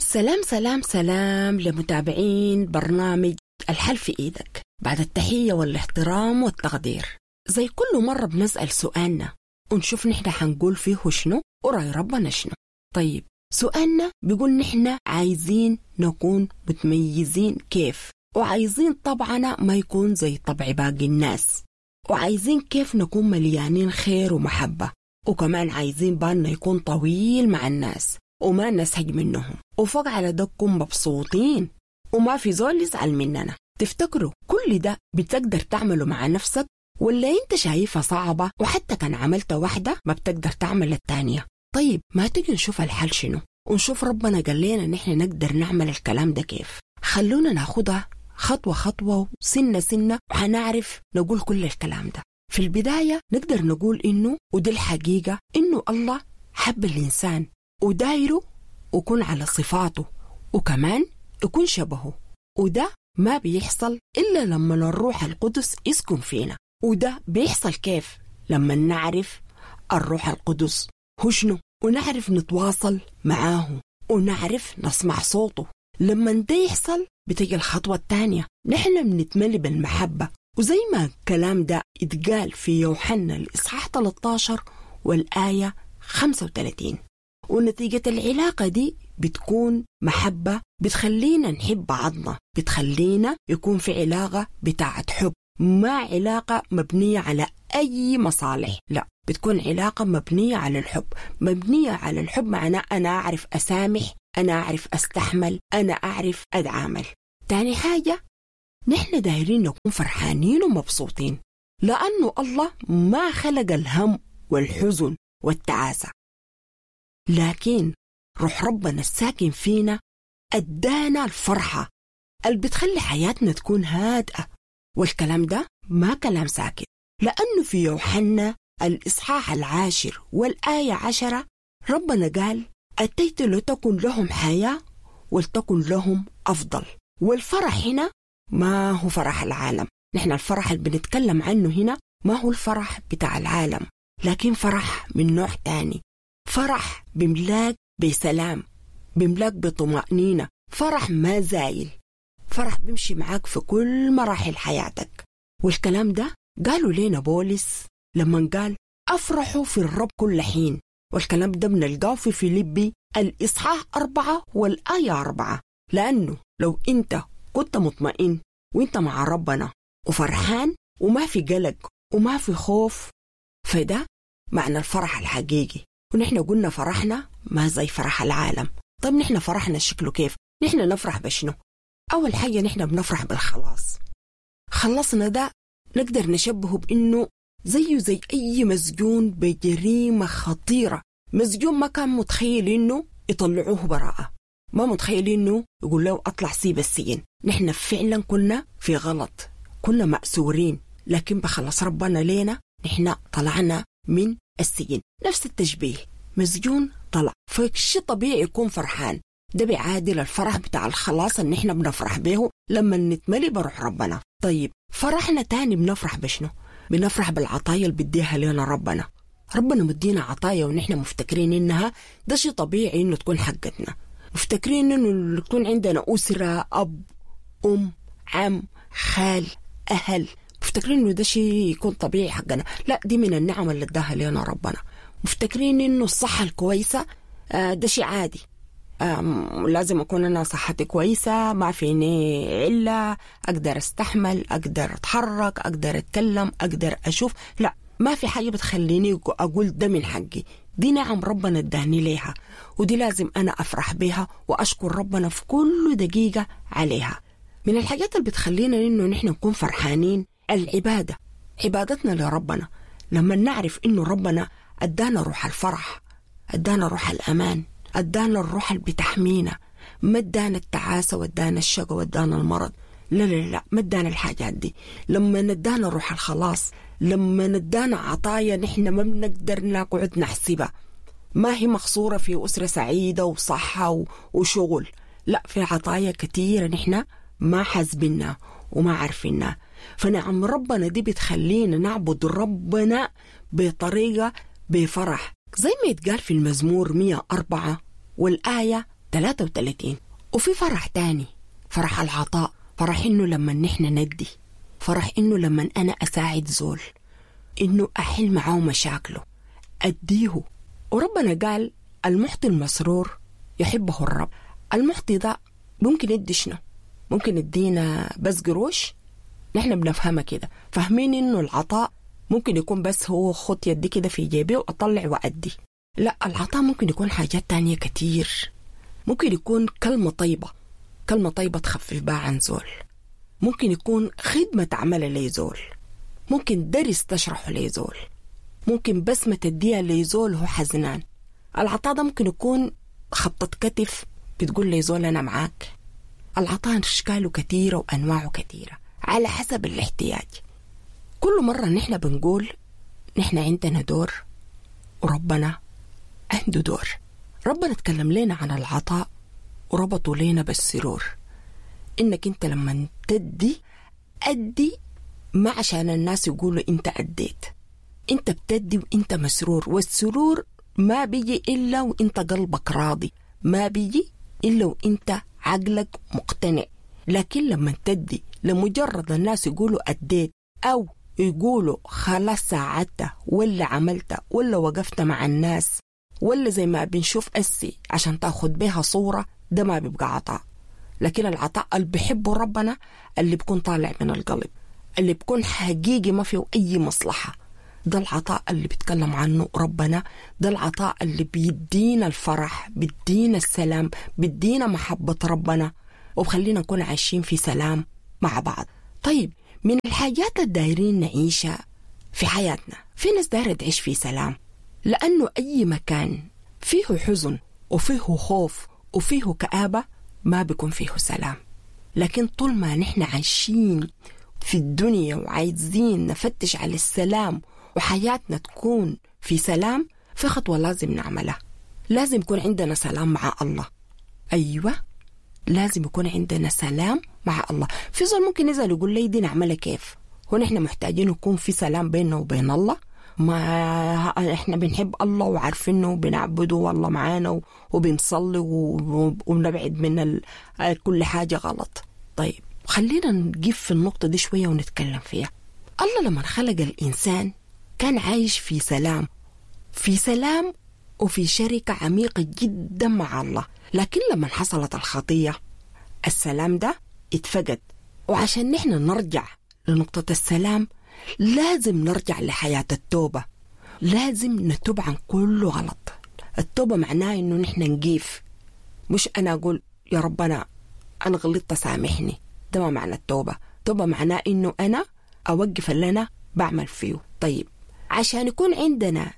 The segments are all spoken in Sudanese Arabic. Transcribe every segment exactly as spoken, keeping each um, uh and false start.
سلام سلام سلام لمتابعين برنامج الحل في إيدك. بعد التحية والاحترام والتقدير، زي كل مرة بنسأل سؤالنا ونشوف نحن حنقول فيه شنو ورأي ربنا شنو. طيب سؤالنا بيقول نحن عايزين نكون متميزين كيف، وعايزين طبعنا ما يكون زي طبع باقي الناس، وعايزين كيف نكون مليانين خير ومحبة، وكمان عايزين بالنا يكون طويل مع الناس وما نسهج منهم، وفوق على ده نكون مبسوطين وما في زول يزعل مننا. تفتكروا كل ده بتقدر تعمله مع نفسك، ولا انت شايفها صعبة وحتى كان عملت واحدة ما بتقدر تعمل التانية؟ طيب ما تيجي نشوف الحل شنو، ونشوف ربنا قال لنا نحن نقدر نعمل الكلام ده كيف. خلونا ناخدها خطوة خطوة وسنة سنة وحنعرف نقول كل الكلام ده. في البداية نقدر نقول إنه، ودي الحقيقة، إنه الله حب الإنسان ودايره وكون على صفاته وكمان يكون شبهه، وده ما بيحصل إلا لما الروح القدس يسكن فينا. وده بيحصل كيف؟ لما نعرف الروح القدس هو شنو، ونعرف نتواصل معاه، ونعرف نسمع صوته. لما ده يحصل بتجي الخطوة الثانية، نحن بنتملي بالمحبة. وزي ما الكلام ده اتقال في يوحنا الإصحاح ثلاثة عشر والآية خمسة وثلاثين. ونتيجة العلاقة دي بتكون محبة، بتخلينا نحب بعضنا، بتخلينا يكون في علاقة بتاعة حب، ما علاقة مبنية على أي مصالح، لا، بتكون علاقة مبنية على الحب. مبنية على الحب معناه أنا أعرف أسامح، أنا أعرف أستحمل، أنا أعرف أتعامل. تاني حاجة، نحن دايرين نكون فرحانين ومبسوطين، لأنه الله ما خلق الهم والحزن والتعاسة، لكن روح ربنا الساكن فينا أدانا الفرحة اللي بتخلي حياتنا تكون هادئة. والكلام ده ما كلام ساكت، لأنه في يوحنا الإصحاح العاشر والآية عشرة ربنا قال أتيت لتكن لهم حياة ولتكن لهم أفضل. والفرح هنا ما هو فرح العالم، نحن الفرح اللي بنتكلم عنه هنا ما هو الفرح بتاع العالم، لكن فرح من نوع تاني، فرح بملاك بسلام، بملاك بطمأنينة، فرح ما زايل، فرح بيمشي معاك في كل مراحل حياتك. والكلام ده قالوا لنا بولس لما قال أفرحوا في الرب كل حين، والكلام ده بنلقاه في فيليبي الإصحاح أربعة والآية أربعة. لأنه لو أنت كنت مطمئن وأنت مع ربنا وفرحان وما في قلق وما في خوف، فده معنى الفرح الحقيقي. ونحن قلنا فرحنا ما زي فرح العالم. طيب نحن فرحنا شكله كيف؟ نحن نفرح بشنو؟ أول حاجة نحن بنفرح بالخلاص. خلصنا ده نقدر نشبهه بإنه زيه زي أي مسجون بجريمة خطيرة، مسجون ما كان متخيل إنه يطلعوه براءة، ما متخيل إنه يقول له أطلع سيب السجن. نحن فعلا كنا في غلط، كنا مأسورين، لكن بخلص ربنا لينا نحن طلعنا من السجن. نفس التشبيه، مسجون طلع، فشي طبيعي يكون فرحان. ده بيعادل الفرح بتاع الخلاص اللي نحن بنفرح به لما نتملي بروح ربنا. طيب فرحنا تاني بنفرح بشنو؟ بنفرح بالعطايا اللي بديها لنا ربنا. ربنا مدينا عطايا ونحن مفتكرين إنها ده شيء طبيعي إنه تكون حقتنا، مفتكرين إنه يكون عندنا أسرة، أب، أم، عم، خال، أهل، مفتكرين إنه ده شيء يكون طبيعي حقنا. لا، دي من النعم اللي اداها لنا ربنا. مفتكرين إنه الصحة الكويسة ده شيء عادي، لازم أكون أنا صحتي كويسة، ما فيني علة، أقدر أستحمل، أقدر أتحرك، أقدر أتكلم، أقدر أشوف. لا، ما في حاجة بتخليني أقول ده من حقي، دي نعم ربنا اداني ليها، ودي لازم أنا أفرح بيها وأشكر ربنا في كل دقيقة عليها. من الحاجات اللي بتخلينا إنه نحن نكون فرحانين العبادة، عبادتنا لربنا. لما نعرف إنه ربنا أدانا روح الفرح، أدانا روح الأمان، أدانا الروح اللي بتحمينا، ما ادانا التعاسة وادانا الشقة وادانا المرض، لا لا لا، ما ادانا الحاجات دي. لما ندانا روح الخلاص، لما ندانا عطايا نحن ما بنقدر نقعد نحسبها، ما هي مقصورة في أسرة سعيدة وصحة وشغل، لا، في عطايا كثيرة نحن ما حاسبينها وما عارفينها. فنعم ربنا دي بتخلينا نعبد ربنا بطريقة بفرح، زي ما يتقال في المزمور مية وأربعة والآية ثلاثة وثلاثين. وفي فرح تاني، فرح العطاء، فرح إنه لما نحن ندي، فرح إنه لما أنا أساعد زول، إنه أحل معاه مشاكله، أديه. وربنا قال المعطي المسرور يحبه الرب. المعطي ده ممكن يدي شنو؟ ممكن يدينا بس قروش؟ نحن بنفهمها كده، فاهمين إنه العطاء ممكن يكون بس هو خط يدي كده في جيبي وأطلع وأدي. لا، العطاء ممكن يكون حاجات تانية كتير. ممكن يكون كلمة طيبة، كلمة طيبة تخفف بها عن زول. ممكن يكون خدمة تعملها لزول، ممكن درس تشرحه لزول، ممكن بسمة تديها لزول هو حزنان. العطاء ده ممكن يكون خبطة كتف بتقول لزول أنا معاك. العطاء أشكاله كثيرة وأنواعه كثيرة على حسب الاحتياج. كل مرة نحن بنقول نحن عندنا دور وربنا عنده دور. ربنا تكلم لنا عن العطاء وربطوا لنا بالسرور، إنك أنت لما تدي أدي ما عشان الناس يقولوا أنت أديت، أنت بتدي وأنت مسرور. والسرور ما بيجي إلا وأنت قلبك راضي، ما بيجي إلا وأنت عقلك مقتنع. لكن لما تدي لمجرد الناس يقولوا أديت، أو يقولوا خلاص ساعدت ولا عملت ولا وقفت مع الناس، ولا زي ما بنشوف أسي عشان تاخد بيها صورة، ده ما بيبقى عطاء. لكن العطاء اللي بيحبه ربنا اللي بيكون طالع من القلب، اللي بيكون حقيقي ما فيه أي مصلحة، ده العطاء اللي بيتكلم عنه ربنا. ده العطاء اللي بيدينا الفرح، بيدينا السلام، بيدينا محبة ربنا، وبخلينا نكون عايشين في سلام مع بعض. طيب، من الحاجات الدايرين نعيشها في حياتنا، في ناس دايرة تعيش في سلام، لأنه أي مكان فيه حزن وفيه خوف وفيه كآبة ما بيكون فيه سلام. لكن طول ما نحن عايشين في الدنيا وعايزين نفتش على السلام وحياتنا تكون في سلام، في خطوة لازم نعملها. لازم يكون عندنا سلام مع الله. أيوة، لازم يكون عندنا سلام مع الله. في زول ممكن يزال يقول لي دي نعملها كيف؟ هو نحن محتاجين يكون في سلام بيننا وبين الله. ما احنا بنحب الله وعارفينه وبنعبده والله معانا وبنصلي وبنبعد من كل حاجة غلط. طيب خلينا نجيب في النقطة دي شوية ونتكلم فيها. الله لما خلق الإنسان كان عايش في سلام، في سلام وفي شركة عميقة جدا مع الله. لكن لما حصلت الخطية السلام ده اتفقد. وعشان نحن نرجع لنقطة السلام لازم نرجع لحياة التوبة، لازم نتوب عن كل غلط. التوبة معناه إنه نحن نقيف، مش أنا أقول يا ربنا أنا غلطت سامحني، ده ما معنى التوبة. التوبة معناه إنه أنا أوقف اللي أنا بعمل فيه. طيب عشان يكون عندنا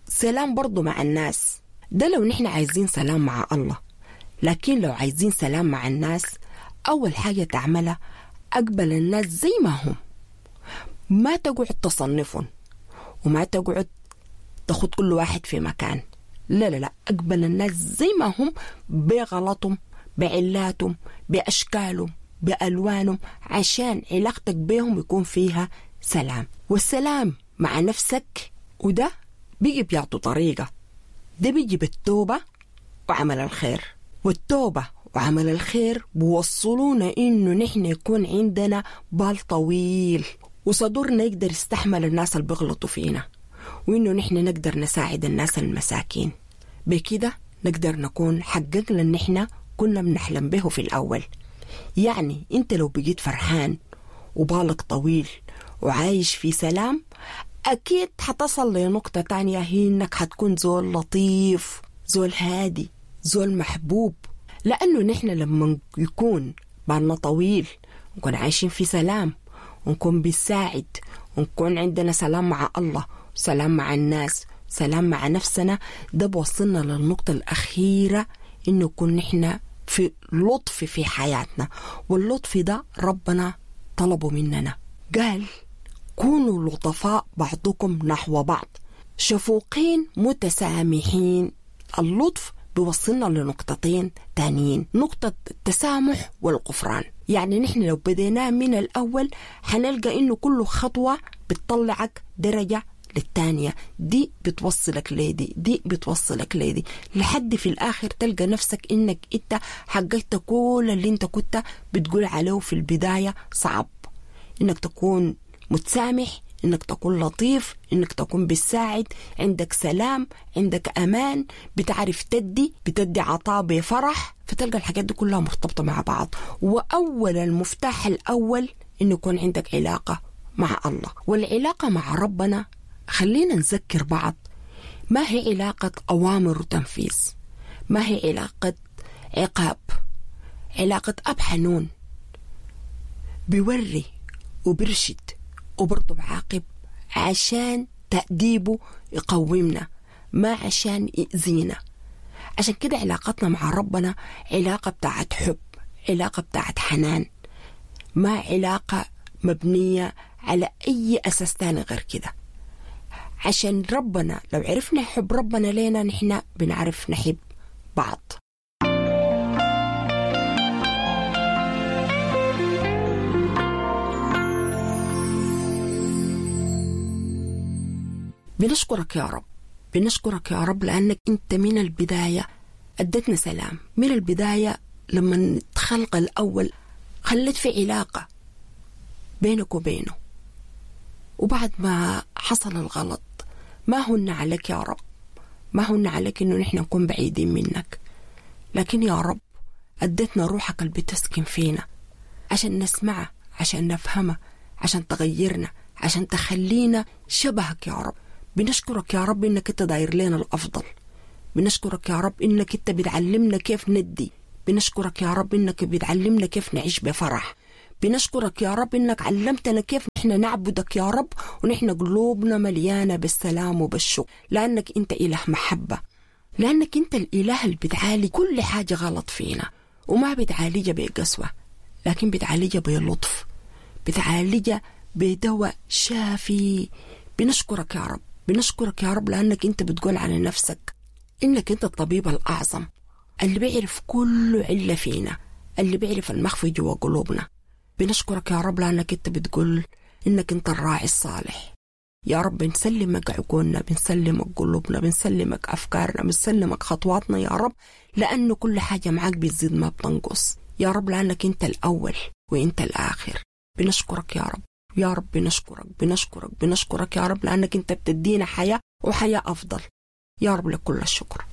سلام برضو مع الناس، ده لو نحن عايزين سلام مع الله. لكن لو عايزين سلام مع الناس، أول حاجة تعملها أقبل الناس زي ما هم، ما تقعد تصنفهم وما تقعد تاخد كل واحد في مكان. لا لا لا، أقبل الناس زي ما هم، بغلطهم، بعلاتهم، بأشكالهم، بألوانهم، عشان علاقتك بيهم يكون فيها سلام. والسلام مع نفسك، وده بيجي بيعطوا طريقة، ده بيجي بالتوبة وعمل الخير. والتوبة وعمل الخير بوصلونا إنه نحن يكون عندنا بال طويل وصدورنا يقدر يستحمل الناس اللي بيغلطوا فينا، وإنه نحن نقدر نساعد الناس المساكين. بكده نقدر نكون حققنا اللي نحن كنا بنحلم به في الأول. يعني أنت لو بقيت فرحان وبالك طويل وعايش في سلام، أكيد حتصل لنقطة تانية، هي إنك حتكون زول لطيف، زول هادي، زول محبوب. لأنه نحن لما يكون بالنا طويل ونكون عايشين في سلام ونكون بنساعد ونكون عندنا سلام مع الله، سلام مع الناس، سلام مع نفسنا، ده بوصلنا للنقطة الأخيرة إنه يكون نحن في لطف في حياتنا. واللطف ده ربنا طلبه مننا، قال كونوا لطفاء بعضكم نحو بعض، شفوقين متسامحين. اللطف بيوصلنا لنقطتين تانيين، نقطة التسامح والغفران. يعني نحن لو بديناه من الأول حنلقى إنه كل خطوة بتطلعك درجة للتانية، دي بتوصلك لدي، دي بتوصلك لدي، لحد في الآخر تلقى نفسك إنك إنت حققت كل اللي إنت كنت بتقول عليه في البداية صعب. إنك تكون متسامح، إنك تكون لطيف، إنك تكون بتساعد، عندك سلام، عندك أمان، بتعرف تدي، بتدي عطاء بفرح. فتلقى الحاجات دي كلها مرتبطة مع بعض. وأول المفتاح الأول إنه يكون عندك علاقة مع الله، والعلاقة مع ربنا خلينا نذكر بعض ما هي علاقة أوامر وتنفيذ، ما هي علاقة عقاب، علاقة أب حنون بيوري وبرشد وبرضه بعاقب عشان تأديبه يقومنا، ما عشان يأذينا. عشان كده علاقتنا مع ربنا علاقة بتاعت حب، علاقة بتاعت حنان، ما علاقة مبنية على أي أساس تاني غير كده. عشان ربنا لو عرفنا حب ربنا لينا نحن بنعرف نحب بعض. بنشكرك يا رب، بنشكرك يا رب لأنك أنت من البداية أدتنا سلام، من البداية لما تخلق الأول خلت في علاقة بينك وبينه، وبعد ما حصل الغلط ما هن عليك يا رب، ما هن عليك إنه نحن نكون بعيدين منك، لكن يا رب أدتنا روحك اللي بتسكن فينا عشان نسمعها، عشان نفهمها، عشان تغيرنا، عشان تخلينا شبهك يا رب. بنشكرك يا رب إنك أنت داير لنا الأفضل، بنشكرك يا رب إنك أنت بتعلمنا كيف ندي، بنشكرك يا رب إنك بتعلمنا كيف نعيش بفرح، بنشكرك يا رب إنك علمتنا كيف نحن نعبدك يا رب ونحن قلوبنا مليانة بالسلام وبالشكر، لأنك أنت إله محبة، لأنك أنت الإله اللي بتعالج كل حاجة غلط فينا، وما بتعالجها بقسوة لكن بتعالجها بلطف، بتعالجها بدواء شافي. بنشكرك يا رب، بنشكرك يا رب لأنك أنت بتقول على نفسك إنك أنت الطبيب الأعظم اللي بيعرف كل علة فينا، اللي بيعرف المخفي جوا قلوبنا. بنشكرك يا رب لأنك أنت بتقول إنك أنت الراعي الصالح. يا رب بنسلمك عقولنا، بنسلمك قلوبنا، بنسلمك أفكارنا، بنسلمك خطواتنا يا رب، لأنه كل حاجة معاك بتزيد ما بتنقص يا رب، لأنك أنت الأول وأنت الآخر. بنشكرك يا رب، يا رب بنشكرك بنشكرك بنشكرك يا رب لأنك أنت بتدينا حياة وحياة أفضل يا رب، لكل الشكر.